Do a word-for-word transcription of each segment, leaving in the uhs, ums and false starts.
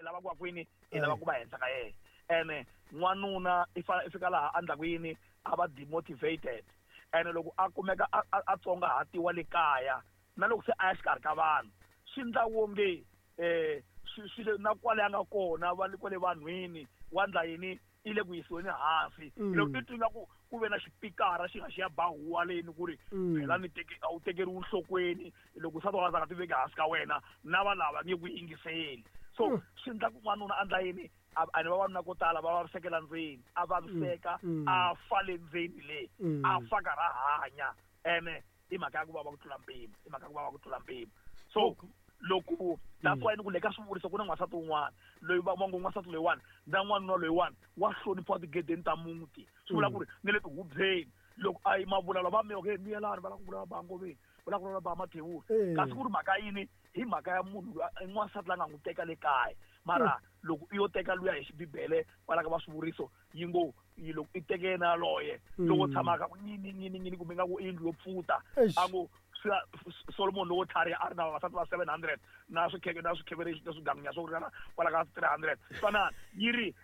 lava ku va kwini i lava ku va henhla ka yena ene n'wanuna i fana i fika laha a ndla ku yini a va demotivated ene loko a kumeka a tsongahatiwa le kaya na loko se a ya xikarhi ka vanhu swi ndla wonge eh swi le na kwale a nga kona va le kwale vanhwini wa ndla yini i le ku yisiweni hansi loko i twi ku ku ve na xipikara xi nga xi ya ba huwa leni ku ri phela ni teke a wu tekeriwi nhlokweni loko nsati wa nga ti veki hansi ka wena na va lava nge ku yingiseli so swi ndla ku n'wanuna a ndla yini a ni vavanuna ko tala va vavisekela ndzeni a vaviseka a fa le ndzeni le a fa karhi a hanya ene i mhaka ya ku vava ku tlula mpimo i mhaka ya ku vava ku tlula mpimo so loko that's why ni ku le ka swivuriso ku na n'wansati wun'wana loyi va ngo n'wansati loyiwani na n'wanuna loyiwani wa hloniphiwa tigedeni ta muti swi vula ku ri ni le tihubyeni loko a yi mavulavula va mi okay miyelani va lava ku vulavula ba ngoveni va lava ku vulavula ba mathewula kasi ku ri mhaka yini hi mhaka ya munhu n'wansati la nga n'wi teka le kaya mara loko i yo teka luya hi xibibele kwala ka va swivuriso yi ngo yi loko i teke yena yaloye loko tshamaka ku nyini nyini nyini kumbe nga ku i yindlu yo pfuta a ngo Solomon lowo tlhariha a ri na vavasati va seven hundred na swikheke na swikhevere na swigangunya swo ringana kwala ka three hundred swanana yi ri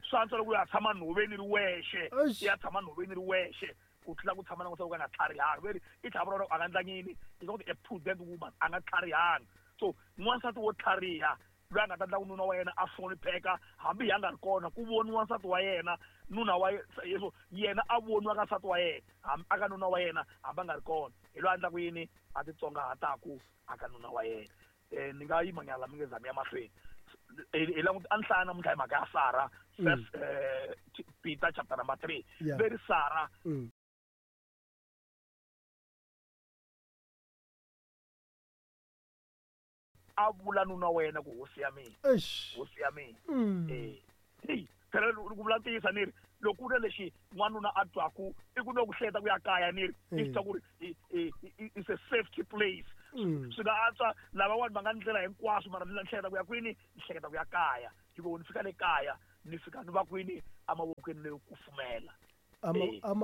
swi antswa loko u ya tshama nhoveni ri wexe i ya tshama nhoveni ri wexe ku tlula ku tshama na n'wansati wo ka nga tlharihanga veri i tlhela vula a nga ndla yini is not a prudent woman a nga tlharihanga so n'wansati wo tlhariha loyi a nga ta ndla ku nuna wa yena a hlonipheka hambi hi a nga ri kona ku voniwa nsati wa yena nuna wa yeso yena a voniwa ka nsati wa yena hambi aka nuna wa yena hambi a nga ri kona hi loyi a ndlaku yini a titsongahataku aka nuna wa yena um ni nga yima nyana la mi nge zami ya mahlweni hi languta a ni hlaya namuntlha hi mhaka ya Sara first Peter chapter number three veri Sara a vula nuna wa yena ku hosi ya mina hosi ya mina eh hey phela ku vula ntiyiso ni ri loko ku ri lexi n'wanuna a twaku i ku no ku hleketa ku ya kaya ni ri i twa ku ri it's a safety place swi nga antswa lavawani va nga ndlela hinkwaswo mara ni hleketa ku ya kwini ni hleketa ku ya kaya hikuva ni fika le kaya ni fika ni va kwini emavokweni leyo kufumela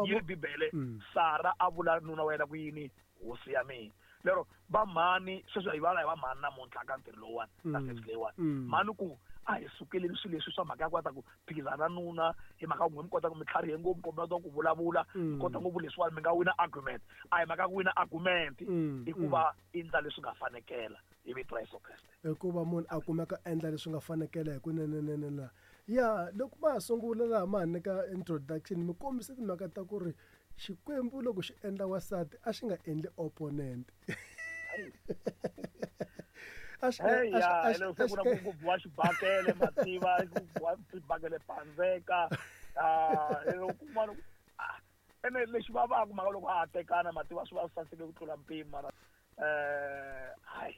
yi ri bibele Sara a vula nuna wa yena ku yini hosi ya mina lero va mhani sweswi hi vulavula hi va mhani namuntlha ka ntirho lowuwani ka service leyiwani mhani ku a hi sukeleni swilo leswi swa mhaka ya ku ta ku phikizana na nuna hi mhaka ku n'we mi kota ku mi tlharihe ngopfu kumbe kota ku vulavula mi kota ngopfu leswiwani mi nga wina argument a hi mhaka ya ku wina argument i ku va i ndla leswi nga fanekela hi vito ra Yesu Kreste hikuva munhu a kumeka endla leswi nga fanekela hi kunenenene ya loko ma ha sungula laha ma ha nyika introduction mi kombisa timhaka ta ku ri Xikwembu loko xi endla wansati a xi nga endli opponent a xi nga se ku na ku biwa xibakele mativa ku biwa xibakele pandzeka ah loko kun'wana ene lexi vavaka mhaka loko a ha tekana mativa swi va swi saseke ku tlula mpimo mara eh hayi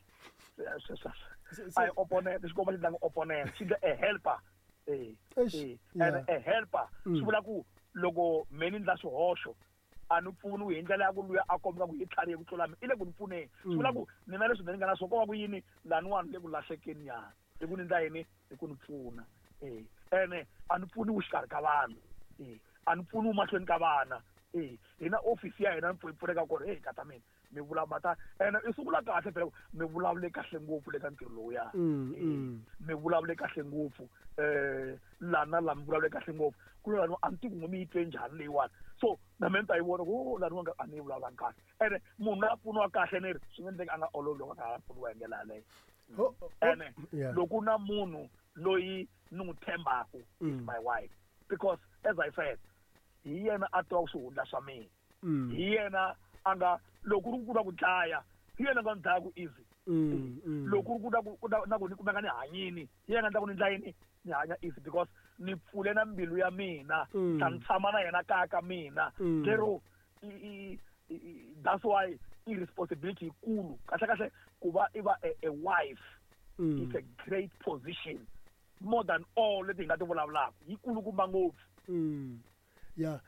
a hi opponent xikomba xi ndlanga opponent xi ndla a helper eh eh and a helper swi vula ku loko me ni ndla swihoxo a ni pfuni hi ndlela ya ku luya a kombisa ku hi tlharihe ku tlula mina i le ku ni pfuneni swi vula ku mina leswi ni nga na swona ko va ku yini laniwani le ku lahlekeni nyana i ku ni ndla yini i ku ni pfuna eh ene a ni pfuniwi xikarhi ka vanhu eh a ni pfuniwi mahlweni ka vana eh hina office ya hina ni pfuneka kona hey kata mina mi vulavula ta ene i sungula kahle phela mi vulavule kahle ngopfu le ka ntirho lowuya mi vulavule kahle ngopfu eh lana la mi vulavule kahle ngopfu ku lani a ni tivi ku mi yi twe njhani leyiwani so na mina ni ta yi vona ku laniwa a ni yi vulavulanga kahle ene munhu loyi a pfuniwa kahle ni ri swi nga endleka a nga olovi loko a nga ha pfuniwa hi ndlela yaleyo ene loko na munhu loyi ni n'wi tshembaku is my wife because as I said hi yena a tivaka swihundla swa mina hi yena a nga loko ri ku na ku dlaya hi yena nga ni dlaya ku easy loko ri ku na ku na ku ni kumeka ni hanyini hi yena nga ndla ku ni ndla yini ni hanya easy because ni pfule na mbilu ya mina ta ni tshama na yena kaya ka mina lero that's why i responsibility yikulu kahle kahle ku va i va a wife it's a great position more than all leti hi nga ti vulavulaka yikulukumba ngopfu ya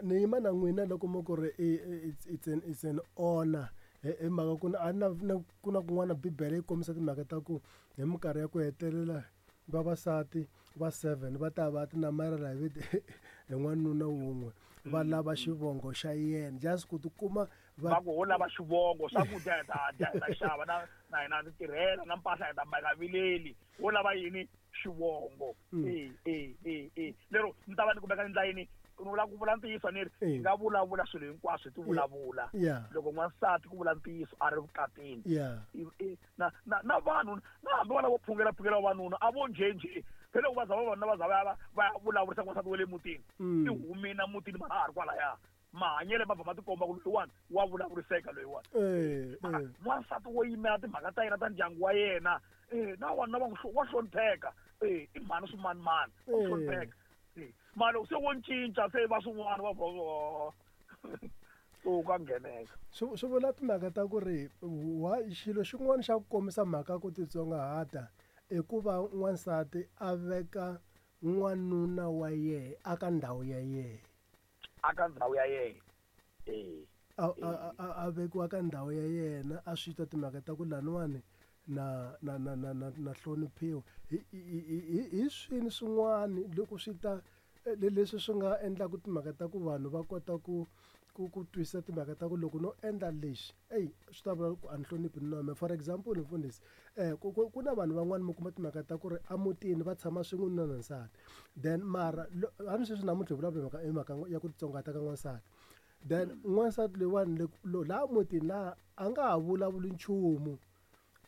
ni yima na n'wina loko mo ku ri it's it's an it's an honor hi mhaka ku a na ku na kun'wana bibele yi kombisa timhaka ta ku hi minkarhi ya ku hetelela vavasati va seven va ta va ti namarhela hi hi n'wanuna wun'we va lava xivongo xa yena just ku tikuma Va ku ho lava xivongo swakudya hi ta dya hi ta xava na na hina ni tirhela na mpahla hi ta mbala vileli wo lava yini xivongo e e e e lero ni ta va ni kumeka ni ndla yini ni vula ku vula ntiyiso ni ri hi nga vulavula swilo hinkwaswo hi ti vulavula loko n'wansati ku vula ntiyiso a ri vukatini na na na vanhu na hambi vana vo phungela phungela vavanuna a vo njhenjhe phela loko va za vavanuna va za va ya va ya vulavurisa n'wansati wa le mutini i humina mutini mara a ha ri kwalaya mahanyelo ma va ma tikomba ku loyiwani wa vulavuriseka loyiwani n'wansati wo yimela timhaka ta yena ta ndyangu wa yena na wanuna va wa hlonipheka i mhani swimanimani wa hlonipheka mara loko se wo cinca se va swin'wana va so ka ngheneka swi swi vula timhaka ta ku ri wa xilo xin'wana xa ku kombisa mhaka ku titsongahata i ku va n'wansati a veka n'wanuna wa yehe aka ndhawu ya yehe aka ndhawu ya yena eh a a a vekiwa ka ndhawu ya yena a swi twa timhaka ta ku laniwani na na na na na na hloniphiwa hi hi hi swini swin'wana loko swi ta leswi swi nga endlaka timhaka ta ku vanhu va kota ku ku ku twisisa timhaka ta ku loko no endla lexi eyi swi ta vula ku a ni hloniphi nuna wa mina. For example mfundhisi eh ku ku na vanhu van'wani mi kuma timhaka ta ku ri emutini va tshama swin'we nuna na nsati then mara hambi sweswi namuntlha hi vulavula mhaka hi mhaka ya ku titsongahata ka n'wansati then n'wansati loyiwani laha mutini laha a nga ha vulavuli nchumu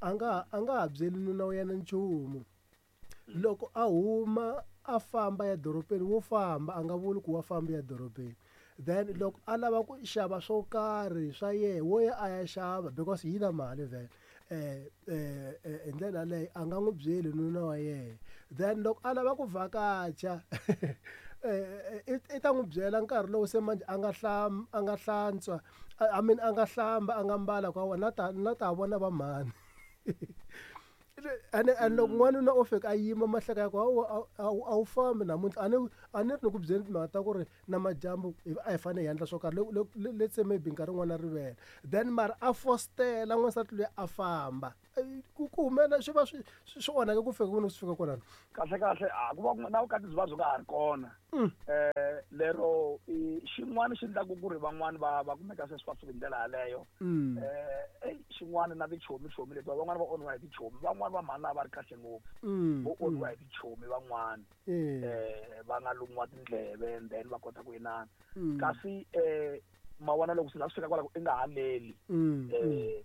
a nga a nga ha byeli nuna wa yena nchumu loko a huma a famba ya dorobeni wo famba a nga vuli ku wa famba ya dorobeni then loko a lava ku xava swo karhi swa yehe wo ya a ya xava because yi na mali vhele eh eh hi ndlela yaleyo a nga n'wi byeli nuna wa yehe then loko a lava ku vhakacha eh i ta n'wi byela nkarhi lowu se manje a nga hlam a nga hlantswa I mean a nga hlamba a nga mbala kwa wona na ta na ta vona va mhani ene and loko n'wanuna o fika a yima mahleka ya ku a wu fambi namuntlha a ni a ni ri ni ku byeli timhaka ta ku ri na madyambu a hi fanele hi endla swo karhi let's say maybe nkarhi wun'wana rivele then mara a fostela n'wansati loyi a famba ku ku humelela swi va swi swi onhake ku fika kwini swi fika kwalano kahle kahle a ku va na vukati byi va byi nga ha ri kona eh lero xin'wana xi endlaku ku ri van'wani va va kumeka se swi va swi hi ndlela yaleyo eh xin'wana na tichomi chomi leti van'wani va onhiwa hi tichomi van'wani va mhani va ri kahle ngopfu vo onhiwa hi tichomi van'wani eh va nga lumiwa tindleve and then va kota ku inana kasi eh ma vona loko swi la swi fika kwala ku i nga haleli eh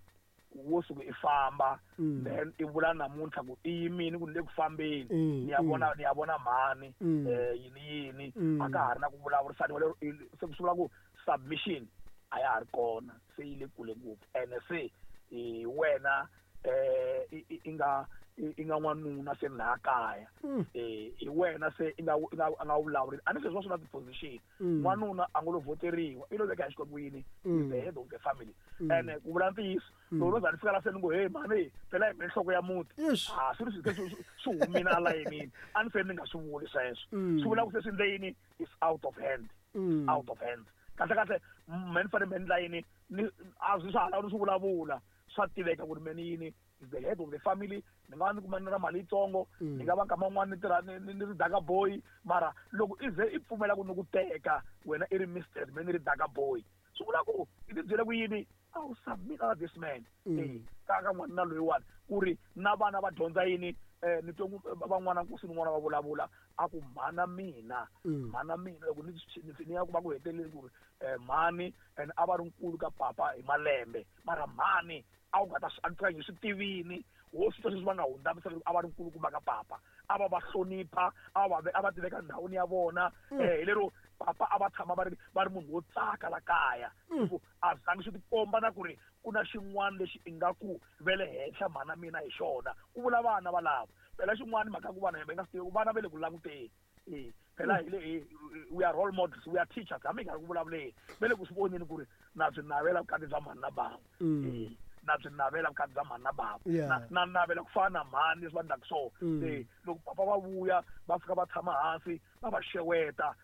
wo suka i famba then i vula namuntlha ku i yimini ku ni le ku fambeni ni ya vona ni ya vona mhani eh yini yini a ka ha ri na ku vulavurisaniwa lero se ku swi vula ku submission a ya ha ri kona se yi le kule ngopfu ene se hi wena eh i nga i nga n'wanuna se laha kaya eh hi wena se i nga i nga a nga vulavuri a ni sweswi va swi na ti-position n'wanuna a ngo lo voteriwa i lo veka hi Xikwembu yini is the head of the family ene ku vula ntiyiso loko no za ni fika la se ni ngo hey mhani phela hi mina nhloko ya muti a swi ri swi swi humile a layinini a ni se ni nga swi vuli sweswo swi vula ku se swi ndle yini is out of hand out of hand kahle kahle me ni fanele me ndla yini ni a swi swa ha lavi ni swi vulavula swa tiveka ku ri me ni yini is the head of the family ni nga va ni kuma ni na mali yitsongo ni nga va nkama wun'wani ni tirha ni ni ri daka boy mara loko i ze i pfumela ku ni ku teka wena i ri mistress me ni ri daka boy swi vula ku i ti byele ku yini a wu submit out this man eh ka ka n'wanuna loyiwani ku ri na vana va dyondza yini eh ni twe van'wana nkosi ni n'wana va vulavula a ku mhana mina mhana mina loko ni ni ya ku va ku heteleli ku ri mhani and a va ri nkulu ka papa hi malembe mara mhani a wu nga ta swi antswa hi swi tivini wo swi twa sweswi va nga hundza misaveni a va ri nkulukumba ka papa a va va hlonipha a va a va tiveka ndhawini ya vona eh hi lero papa a va tshama va ri va ri munhu wo tsaka la kaya ku a zangi swi tikomba na ku ri ku na xin'wana lexi ingaku ve le henhla mhana mina hi xona ku vula vana valavo phela xin'wana mhaka ku vana hi nga swi tivi vana va le ku languteni eh phela hi le we are role models, we are teachers hambi hi nga ri ku vulavuleni va le ku swi voneni ku ri na byi navela vukati bya mhani na bava eh na byi navela vukati bya mhani na bava na na navela ku fana na mhani leswi va endlaka swona eh loko papa va vuya va fika va tshama hansi va va xeweta